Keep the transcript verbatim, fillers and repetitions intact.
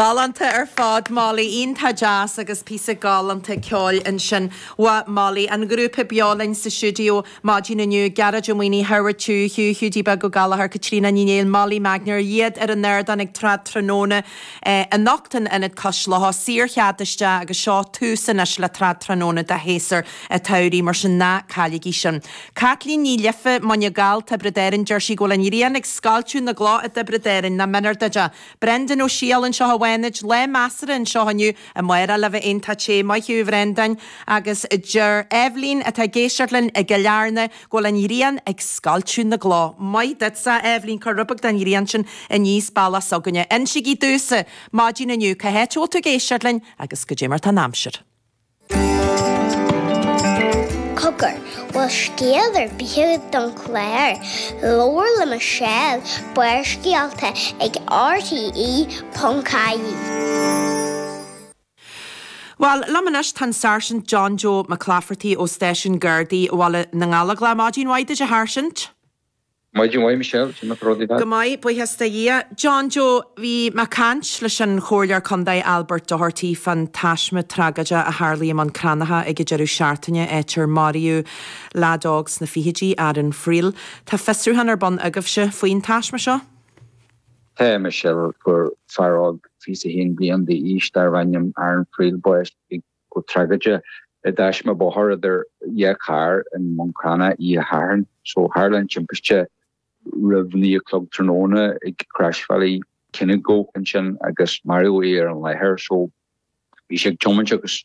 Galánta ar fad Molly iontach deas agus píosa galánta ceoil ansin uaidh Molly. An grúpa beo linn sa stiúideo maidin inniu, Gearóid Ó Maonaigh, Howard Chu, Hugh Hiúdaí Beag Ó Gallchóir, Caitríona Ní Néill, Molly Magner, iad ar an ardán ag Trad Tráthnóna anocht in Ionad Cois Locha, saorchead isteach agus seo tús anois le Trad Tráthnóna do shéasúr an tsamhraidh, mar sin ná cailligí sin. Caitlín Ní Life, Muine Gall, Tiobraid Árann, deir sí go bhfuil an ghrian ag scoilteadh na gcloch i dTiobraid Árann, nach méanar duit é. Brendan Ó Siadhail anseo i bhFánaid, lá measartha anseo inniu, amárach le bheith iontach te, maith thú a Bhrendáin, agus deir Eibhlín atá ag éisteacht linn i gCill Airne go bhfuil an ghrian ag scoilteadh na gcloch. Maith duitse Eibhlín, cuir rud beag den ghrian sin aníos bealach s'againne. Insígí domhsa maidin inniu cá háit a bhfuil tú ag éisteacht linn agus goidé mar tá an aimsir. Cogar, bhfuil scéal ar bith agat don chlár? Labhair le Michelle, Barrscéalta ag RTE.ie. Bhuel, liom anois tá an Sáirsint John Joe Mac Laifeartaigh ó Stáisiún Gardaí Bhaile na nGallóglach. Maidin mhaith duit a Sháirsint. Maidin mhaith Michelle, sin rudaí Go maith buíochas do Dhia. John Joe bhí mé ag caint leis an Chomhairleoir Contae Albert Doherty fán taisme tragóideach a tharla i mBun Cranncha ag an deireadh seachtaine áit ar maraíodh leaid óg sna fichidí Aaron Friel. Tá fiosrúchán ar bun agaibhse faoin taisme seo? Tá Michelle fuair fear óg fiche a haon bliain d'aois darb ainm Aaron Friel bás go tragóideach i dtaisme bóthair idir dhá charr i mBun Cranncha oíche Shathairn, so tharla an timpiste roimh naoi a chlog tráthnóna ag Croisbhealaí Kinnego ansin agus maraíodh é ar an láthair so bhí sé ag tiomáint agus